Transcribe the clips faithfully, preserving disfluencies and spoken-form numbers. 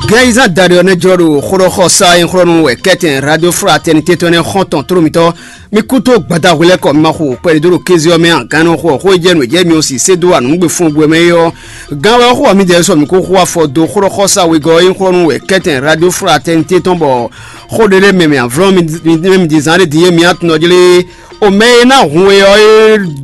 Gɛ́yizán daɖé ɔ́ nɛ́ jlɔ́ ɖo xóɖɔxɔsá e xlɔ́ nú wɛ kɛ́tɛn Radio Fraternité tɔn nɛ́ xɔ́ntɔn tló mitɔ́. Mi kútó gbadahwe lɛ́ɛ kɔ, mi ma xo kpɛɖé dó ɖo kéze ɔ́ mɛ a? Gannɔ xo xó e jɛ nǔ e jɛ mi ɔ́ si sé dó wa nǔgbé fún gbé mɛ é ɔ́, gán wɛ ɔ́ xo wá mi jɛ sɔ mi kó xo afɔ dó xóɖɔxɔsá wegɔ́ e xlɔ́ nú wɛ kɛ́tɛn Radio Fraternité tɔn bɔ xó ɖé lɛ́ɛ mɛ mi avlɔ́ mi mi di zán ɖé din e mi atun ɔ́ jlé. O mɛ e ná hun we ɔ́,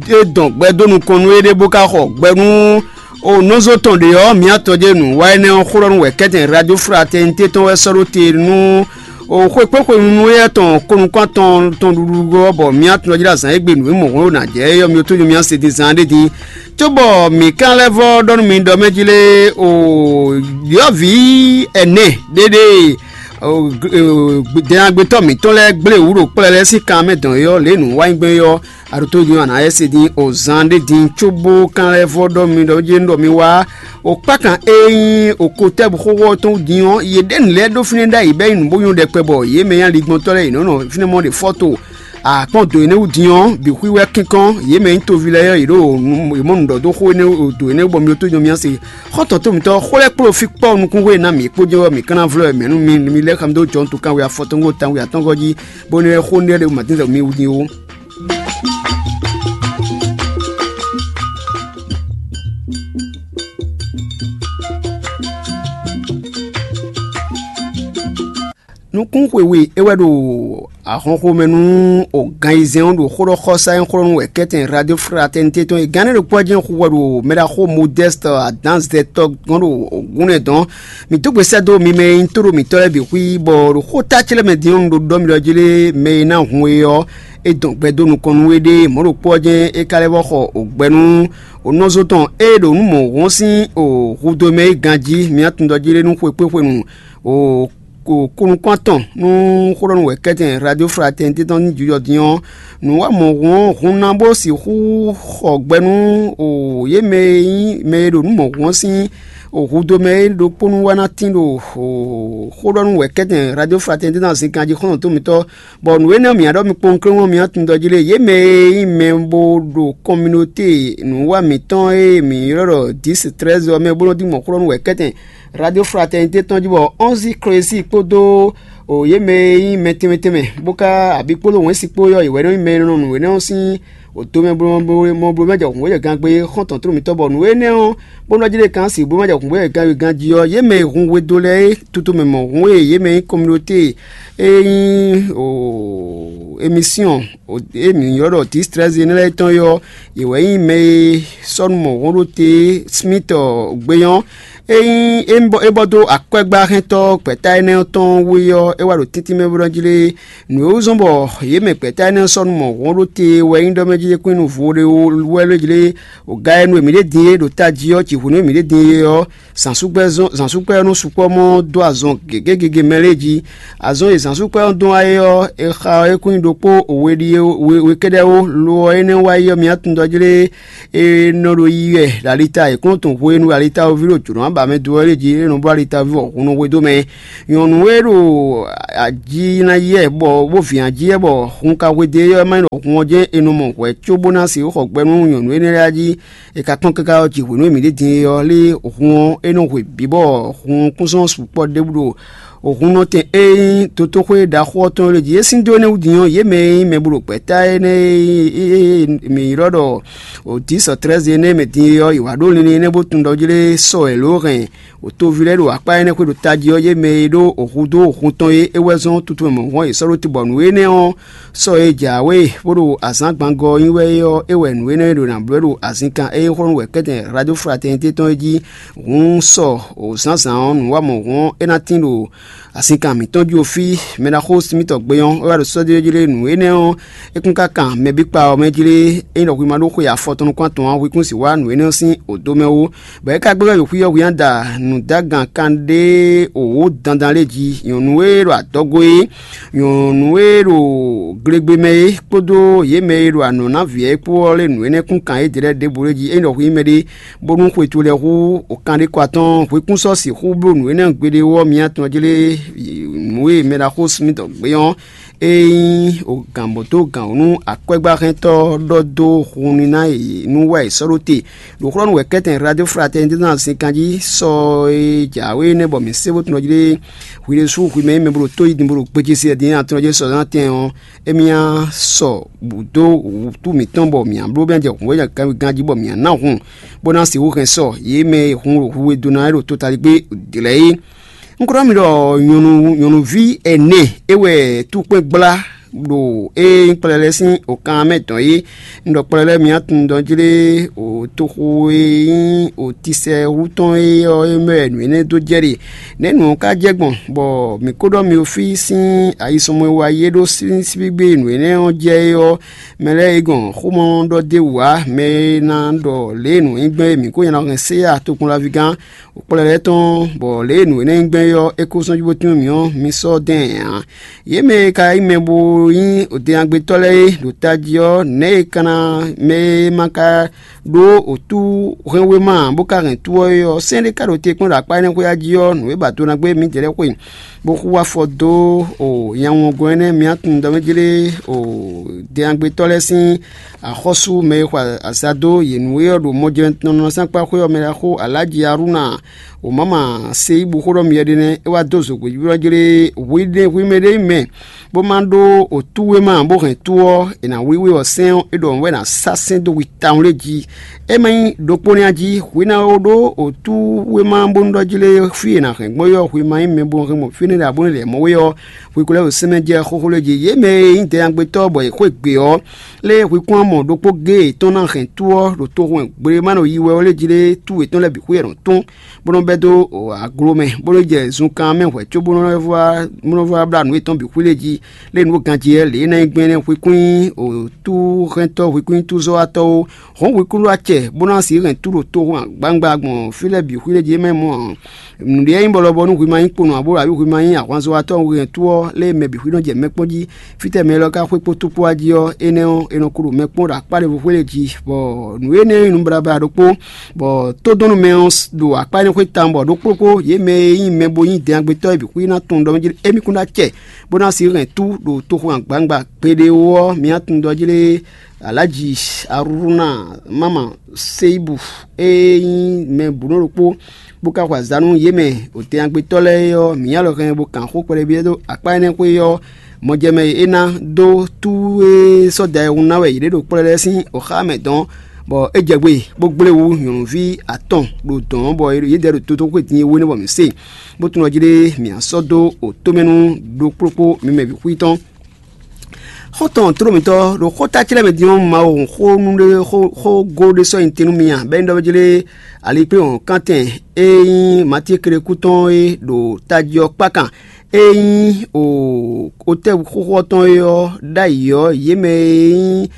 é dɔn gbɛ dó nukɔn nú éɖée bó ka xɔ gbɛ nú o nɔzo tɔn ɖě ɔ́, mǐ atɔn jɛ nǔ wa énɛ́ ɔ́ xlɔ́ nú wɛ kɛ́tɛn Radio Fraternité tɔn wɛ sɔ́ ɖó te nú o xwekpéxwenu nú éyɛ́ tɔn kɔnukún atɔn tɔn ɖuɖu ɔ́, bɔ mǐ atɔn jɛ azǎn e gbe nǔ e mɔ̌ hwlɛ́n ná jɛ é ɔ́, mi tójó mǐ se dín zán ɖé din, cóbɔ mǐ ka lɛ́ vɔ́ ɖɔ nú mi ɖɔ mɛ jí lé o ɖyɔ̌vǐ ɛnɛ ɖéɖée dɛnyagbetɔ́ mǐtɔn lɛ́ɛ gblé wǔ ɖo kplɛ́ lɛ́ɛ sín kan mɛ dɔn é ɔ́, lě e nǔ wa nyí gbɛn é ɔ́, aɖótó din ɔ́, a nǎ yɛ se din o zan ɖé din cóbó kan lɛ́ vɔ́ ɖɔ mi ɖɔ jɛ́n ɖɔ mi wá o kpákan e nyí o kotɛ́bu xóxó tɔn wú din ɔ́, yě ɖe nǔ lɛ́ɛ ɖó fínɛ́ ɖ'ayǐ bɔ é nyí nǔ bó nyɔ́ ɖɛkpɛ bɔ yě mɛ nyí aligbɔntɔ́ lɛ́ɛ yě nɔ́ nɔ fínɛ́ mɔ ɖe fɔ́to. Akpɔ́n do énɛ́ wú din ɔ́, bǐ xwíwɛ́ kínkɔ́n, yě mɛ nyí toví lɛ́ɛ ɔ́, yě ɖo yě mɔ nǔ ɖɔ dó xó énɛ́ do énɛ́ wú bɔ mi ɖótó nyɔ mía se. Xɔ́ntɔn tó mǐtɔn xó lɛ́ɛ kpló fí kpɔ́ nukún hwe ná mǐ kpó jɛ́n wɛ mǐ ka ná vlɔ́ mɛ nú mi, mi lɛ́ xa mi dó jɔ̌nu tɔn kanwe afɔtɔn xo tanwe atɔ́ngɔ́ jí, bónú é xó nú é ɖe mǎtínzɛ mi wú din ó. Nukún xwewé é wɛ ɖo ahɔnxomɛ nú o gan ayizɛ́n ɔ́ ɖo xó ɖɔ xɔsá e xlɔ́ nú wɛ kɛ́tɛn Radio Fraternité tɔn e gán énɛ́ ɖokpó ɔ́ jɛ́n xu wɛ ɖo mɛɖaxó Modɛ́st Adǎnzɛtɔ́ gɔ́n ɖo gúnlɛ dɔn. Mǐ dó gbe sɛ́ dó mi mɛ e nyí tóɖó mǐtɔn lɛ́ɛ bǐ xwí, bɔ ɖo xó ta ce lɛ́ɛ mɛ din ɔ́, un ɖo ɖɔ mi ɖɔ jí lé, mɛ e ná hun we ɔ́, é dɔn gbɛ dó nukɔn nú we ɖé. Mɔ̌ ɖokpó ɔ́ jɛ́n é ka lɛ́ vɔ́ xɔ o gbɛ nú o nɔzo tɔn e ɖo nǔ mɔ̌hun sín o hudó mɛ é ganjí. Mi atundɔ jí lé nú xwekpéxwenu o ko kúnukún atɔn nú xó ɖɔ nú wɛ kɛ́tɛn Radio Fraternité tɔn ní jijɔ din ɔ́, nǔ wa mɔ̌hun ɔ́ hun ná bó sixú xɔ gbɛ nú o yě mɛ e nyí mɛ e ɖo nǔ mɔ̌hun ɔ́ sín o hudó mɛ é ɖokpónú wá ná tín ɖo xó ɖɔ nú wɛ kɛ́tɛn Radio Fraternité tɔn azinkan jí xɔ́ntɔn tó mitɔ́. Bɔ nǔ énɛ́ ɔ́, mǐ ɖɔ mi kpɔ́n kléwún ɔ́, mi atundɔ jí lé, yě mɛ e nyí mɛ bó ɖo kɔminote nǔwa mǐtɔn e mǐ ylɔ́ ɖɔ dǐs trɛ́zɛ ɔ́ mɛ bó nɔ́ dín mɔ̌ xlɔ́ nú wɛ kɛ́tɛn Radio Fraternité tɔn jí, bɔ ɔ́nzi Klesi kpódó o yě mɛ e nyí mɛ tɛnmɛ tɛnmɛ bó ka abǐ kpódó wɛ̌nsi kpó ɔ́, yě wɛ nɔ nyí mɛ e nɔ nǔ énɛ́ ɔ́ sín o do mɛ bló mɔ bló mɛ jɛ hǔn wǒ jɛ gangbe xɔ́ntɔn tló mǐtɔn, bɔ nǔ énɛ́ ɔ́ bó nɔ́ jlé kan si bó ma jɛ hǔn bó jɛ gangwe ganjí ɔ́, yě mɛ e hun we dó lɛ́ɛ é, tutu mɛ mɔ̌hun e yě mɛ nyí kɔminote e nyí o emisíɔn e mǐ ylɔ́ ɖɔ distrɛzi énɛ́ lɛ́ɛ tɔn é ɔ́, yě wɛ nyí mɛ e sɔ́ nú mɔ̌hun ɖó te Smith gbé ɔ́. É nyí é bɔ dó akwɛ́gbáhɛntɔ́ gbɛ̌ta énɛ́ ɔ́ tɔn wú é ɔ́, é wá ɖo tɛ́ntin mɛ bó nɔ́ jlé nǔ e wú zɔ́n bɔ yě mɛ gbɛ̌ta énɛ́ ɔ́ sɔ́ nú mɔ̌hun ɖó te wɛ nyí ɖɔ mɛ jí kún nú vo ɖé wɛ ló jlé o ga e nú èmí ɖé din é ɖo tají ɔ́, jǐ hu nú èmí ɖé din é ɔ́, zǎnsúkpɛ́ ɔ́ nɔ́ sukpɔ́ mɔ dó azɔn gěgé gege mɛ lɛ́ɛ jí. Azɔn e zǎnsúkpɛ́ ɔ́ dɔn wá é ɔ́, è xa ɔ́ é kún nyi ɖokpó we ɖíe we kɛ́ɖɛ́ ó. Lo ɔ́, énɛ́ wá yi ɔ́, mi atundɔjlé e nɔ ɖo yiyi wɛ ɖo alita e kplɔ́n tɔn hwenu alitawoví ɖo jǒnɔ aba mɛ dó ɔ́ lɛ́ɛ jí, é nɔ bló alitawoví bɔ hun nɔ hwedó mɛ. Nyɔ̌nu e ɖo ají ná yɛ bɔ bó vǐ ají yɛ bɔ hun ka hwedó é ɔ́, é má nyí ɖɔ hun ɔ́ jɛ́n è nɔ mɔ hwɛ̌ cóbó ná sixú xɔ gbɛ nú nyɔ̌nu énɛ́ lɛ́ɛ jí. È ka kpɔ́n káká ɔ́, jǐ hwenu e mǐ ɖe din é ɔ́, lé hun ɔ́, é nɔ hwe bǐ bɔ hun kún sɔ́ sukpɔ́ ɖěbǔ ɖo hun nɔtɛn e nyí dotóxwé ɖaxó ɔ́ tɔn é jí. É sín dó énɛ́ wú din ɔ́, yě mɛ e nyí mɛ bó ɖo gbɛ̌ta énɛ́ e mǐ ylɔ́ ɖɔ Odǐsɔ Trɛ́zi énɛ́ mɛ din é ɔ́, yě wá ɖó linlin énɛ́ bó tunwun ɖɔ jlé sɔ wɛ lǒ hɛn wǒtoví lɛ́ɛ ɖo akpá énɛ́ xwé ɖo tají ɔ́, yě mɛ e ɖó hudó hun tɔn é, é wɛ zɔ́n tutu mɛ mɔ̌hɔn yě sɔ́ ɖó te bɔ nǔ énɛ́ ɔ́, sɔ e jǎwe bó ɖo azǎngbangɔ ɔ́ nyi wɛ é ɔ́, é wɛ nǔ énɛ́ e ɖo nǎ bló ɖo azinkan e nyí xlɔ́ nú wɛ kɛ́tɛn Radio Fraternité tɔn é jí. Hǔn sɔ zǎnzǎn ɔ́, nǔ wa mɔ̌ hɔn é ná tín ɖo azinkan mǐtɔn jí o fí. Mɛ ná xó mitɔn gbe ɔ́, é wá ɖo sɔ́ jlé nǔ énɛ́ ɔ́, é kún ka kan mɛ bí kpa ɔ́ mɛ jlé. Ényí ɖɔ hwi ma ɖó xwe afɔtɔn nukún atɔn ǎ, hwi kún sì wá nǔ énɛ́ ɔ́ sín odo mɛ ó. Bɔ é ka gbɛ́ wɛ ɖo xwí ɔ́, hwi ná da nǔdágan kanɖé wǒ dandan lé jí. Nyɔ̌nu e ɖo adɔgo é, nyɔ̌nu e ɖo glegbe mɛ é kpódó yě mɛ e ɖo anɔ̌ ná vǐ ɔ́ é kpó ɔ́ lé nǔ énɛ́ kún kan yědɛɛ lɛ́ɛ ɖěbǔ lé jí. Ényí ɖɔ hwi nyí mɛɖé bónú xwe towe lɛ́ɛ hú o kanɖékɔ atɔn, hwi kún sɔ́ sixú bló nǔ énɛ́ gbeɖé ɔ́, mi atɔn jlé nǔ e mɛ ɖaxó Smith gbé ɔ́, E nyí gǎnbɔ̌tó gǎnwǔnú akwɛ́gbáhɛntɔ́ ɖɔ dó hun nú ná yě nú wɛ è sɔ́ ɖó te. Ɖo xlɔ́ nú wɛ kɛ́tɛn Radio Fraternité ná sin kanjí sɔ e jǎwe énɛ́ bɔ mǐ sé bó tunɔ jí ɖé hwi ɖésú hwi mɛ e mɛ bo ɖo tó yi din bo ɖo gbéjé se din atɔn jí sɔ ná tɛn ɔ́, émí ná sɔ bǔ dó wǔtu mǐtɔn bɔ mǐ ná bló bɛ́ jɛ hǔnvɔ́ ganjí bɔ mǐ ná ná hun bó ná sixú hɛn sɔ yě mɛ e hun ɖo hu e dó ná é ɖo totaligbé lɛ́ɛ é. Un ko ɖɔ mi ɖɔ nyɔ̌nu nyɔ̌nuví ɛnɛ é wɛ túkpɛ́n gbla ɖo é nyí kplɛlɛ sín okan mɛ dɔn é. Un ɖɔ kplɛlɛ mǐ atun dɔn jlé o toxo e nyí o tisɛ wú tɔn é ɔ́ é mɛ wɛ nǔ énɛ́ dó jɛ ɖe. Nɛ̌ nǔ ɔ́ ka jɛ gbɔn bɔ mǐ ko ɖɔ mi o fí sín ayisɔnmɔ e wa yi é ɖó sín síbígbé nǔ énɛ́ ɔ́ jɛ é ɔ́, mɛ lɛ́ɛ é gɔn xomɔ ɖɔ d'é wú ǎ. Mɛ e ná ɖɔ lě e nǔ nyí gbɛn é mǐ ko nya nɔ hɛn séya tokpɔnlaví gán kplɔ́ lɛ́ɛ tɔn, bɔ lě e nǔ énɛ́ nyí gbɛn é ɔ́, é ko sɔ́ jí bó tín mì ɔ́, mi sɔ́ dɛn ǎ. Yě mɛ e ka nyí mɛ bo nyí odɛnyagbetɔ́ lɛ́ɛ é ɖo tají ɔ́, nɛ̌ e ka ná mɛ e ma ka ɖó otú hɛn wéma ǎ, bó ka hɛn tú ɔ́ é ɔ́, sɛ́n ɖé ka ɖo te kpɔ́n ɖo akpá énɛ́ xwé jí ɔ́, nǔ e ba do ná gbé mǐdɛɛ lɛ́ɛ xwe, bó xú afɔ dó o nyawɔngɔn énɛ́ mǐ atun ɖɔ mɛ jlé o dɛnyagbetɔ́ lɛ́ɛ sín axɔ́sú mɛ e xɔ azǎn dó yě nú é ɔ́ ɖo mɔjɛnɔnɔ sín akpá xwé ɔ́ mɛ ɖaxó Alǎji Arúna Omama se yí bu xó ɖɔ myɛ ɖé nɛ́, é wá dó zogbějúɖɔ jlé hwi ɖé hwi mɛ ɖé mɛ, bó ma ɖó otú wéma bó hɛn tú ɔ́, è nǎ wlíwlí ɔ́ sɛ́n ɔ́, é ɖɔ wɛ ná sá sɛ́n dó hwi tawun lé jí. É ma nyí ɖokpó nɛ́ jí, hwi ná ó ɖó otú wéma bónú ɖɔ jlé fí è nǎ hɛn gbɔn é ɔ́, hwi ma nyí mɛ bó hɛn gbɔn fínɛ́ ɖě abónú lɛ̌ mɔ wé ɔ́, hwi ko lɛ́ ɖo sɛ́n mɛ jɛ xóxó lé jí. Yě mɛ e nyí dɛnyagbetɔ́ bɔ è xwé gbe ɔ́, lé hwi kún amɔ ɖokpó géé yětɔn ná hɛn tú ɔ́ ɖo toxo e gble ma nɔ yi wɛ ɔ́ lé jí lé tú yětɔn lɛ́ɛ bǐ xwé è nɔ tún. Bó nɔ́ bɛ́ dó aglo mɛ, bó nɔ́ jɛ zunkan mɛ hwɛ̌ cóbó nɔ́ vɔ wá bla nǔ yětɔn bǐ xwí lé jí, lě nǔ ganjí lě e ná nyí gbɛn nɛ́ hwikún nyí tú hɛntɔ́ hwikún nyí túzɔ́watɔ́ ó. Hɔ̌n hwikún ɖó acɛ bó ná sixú hɛn tú ɖo toxo gbangba gbɔn fí lɛ́ɛ bǐ xwí lé jí é mɛ mɔ nǔɖé nyí bɔ lɔbɔ nú hwi ma nyí kponɔ abo abǐ hwi ma nyí ahwanzɔ́watɔ́ hwi hɛn tú ɔ́ lé mɛ bǐ xwí nɔ́ jɛ mɛ kpɔ́n jí. Fítɛ́ mɛ élɔ́ ka xwé kpó túkpó wá jí ɔ́, énɛ́ ɔ́, è nɔ ko ɖo mɛ kpɔ́n ɖo akpá ɖěvo xwé lě jí, bɔ nǔ énɛ́ nyí nǔ baɖabaɖa ɖokpó, bɔ tódɔnnúmɛ ɔ́ ɖo akpá énɛ́ xwé tawun bɔ ɖokpó kpó yě mɛ e nyí mɛ bo nyí dɛnyagbetɔ́ e bǐ xwí ná tunwun ɖɔ mɛ jí émí kún ná acɛ bó ná sixú hɛn tú ɖo toxo agbawungba gbeɖé ó ɔ́, mi ná tunwun ɖɔ jí lé Alǎji Arúna Mama Seibu e nyí mɛ bǔnɔ ɖokpó bó ka xɔ azǎn nú yě mɛ ɖo tɛnyagbetɔ́ lɛ́ɛ é ɔ́, mǐ nyí alɔ hɛn bó kan xó kpɛɖébyɔ́ dó akpá énɛ́ xwé ɔ́, mɔjɛmɛ e é ná dó tú e sɔ́ da ɛ hun ná wɛ yě ɖe ɖo kplɔ́ lɛ́ɛ sín oxá mɛ dɔn, bɔ é jɛ gbe bó gblé wú nyɔ̌nuví atɔn ɖo dɔ̌n bɔ yědɛɛ ɖo tótóxwé din e wénɛ́ bɔ mǐ se, bó tunwun jí ɖé mǐ á sɔ́ dó otómɛnu ɖokpló kpó mǐ mɛ bǐ xwí tɔn. Xɔ́ntɔn tlólǒmítɔ́ ɖo xóta ce lɛ́ɛ mɛ din ɔ́, Mawu xó nú ɖé xó xó gó ɖé sɔ́ nyi te nú mi a? Bɛ́ nyí ɖɔ jí lé alikpléhɔn kántɛn e nyí Matíe klékún tɔn é ɖo tají ɔ́ kpákan. E nyí otɛ́ xóxó ɔ́ tɔn é ɔ́ ɖ'ayǐ ɔ́, yě mɛ e nyí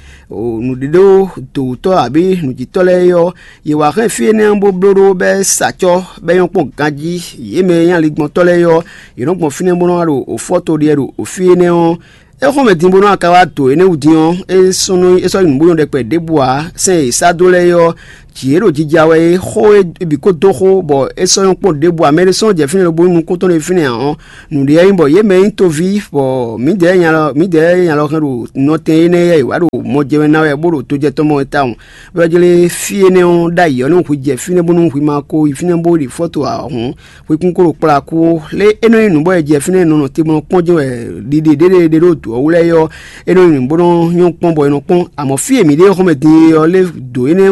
nǔɖéɖó dǒwútɔ́ abǐ nǔjítɔ́ lɛ́ɛ é ɔ́, yě wá hɛn fí énɛ́ ɔ́ bó bló ɖó bɛ́ sa acɔ́ bɛ́ nyɔ́ kpɔ́n ganjí. Yě mɛ e nyí aligbɔntɔ́ lɛ́ɛ é ɔ́, yě nɔ́ gbɔn fínɛ́ bó nɔ́ wá ɖo fɔ́to ɖiɛ ɖo fí énɛ́ ɔ́. É xɔ́n mɛ din bó nɔ́ ka wá dǒ énɛ́ wú din ɔ́, é sɔ́ nɔ é sɔ́ nyí nǔ bó nyɔ́ ɖɛkpɛ ɖěbǔ ǎ. Sɛ́n e è sá dó lɛ́ɛ é ɔ́, jǐ é ɖo jija wɛ é, xó é bǐ ko dó xó, bɔ é sɔ́ nyɔ́ kpɔ́n ɖěbǔ ǎ. Mɛ ɖé sɔ́ jɛ fínɛ́ lobo nyí nukúntɔ́ ɖé fínɛ́ ǎ ɔ́, nǔɖé ɔ́ nyí bɔ yě mɛ e nyí toví, bɔ mǐdɛɛ nya lɔ mǐdɛɛ nya lɔ hɛn ɖo nɔ tɛn énɛ́ yɛ wá ɖo mɔjɛmɛ ná wɛ bó ɖo tojɛ tɔn mɔ wɛ tawun. Bɔ é jlé fí énɛ́ ɔ́ ɖ'ayǐ ɔ́, nú hwi jɛ fínɛ́ bónú hwi ma ko yi fínɛ́ bó ɖi fɔ́to ǎ hǔn, hwekún ko ɖo kplá kú ó. Lé é nɔ nyí nǔ bɔ è jɛ fínɛ́ nɔ nɔ te bó nɔ kpɔ́n jɛ́n wɛ ɖiɖe ɖéɖé ɖé ɖo dǒ ɔ́ wú lɛ́ɛ é ɔ́, é nɔ nyí nǔ bó nɔ nyɔ́ kpɔ́n bɔ è nɔ kpɔ́n. Amɔ̌ fí e mǐ ɖe xɔ́mɛ din é ɔ́, lé dǒ énɛ́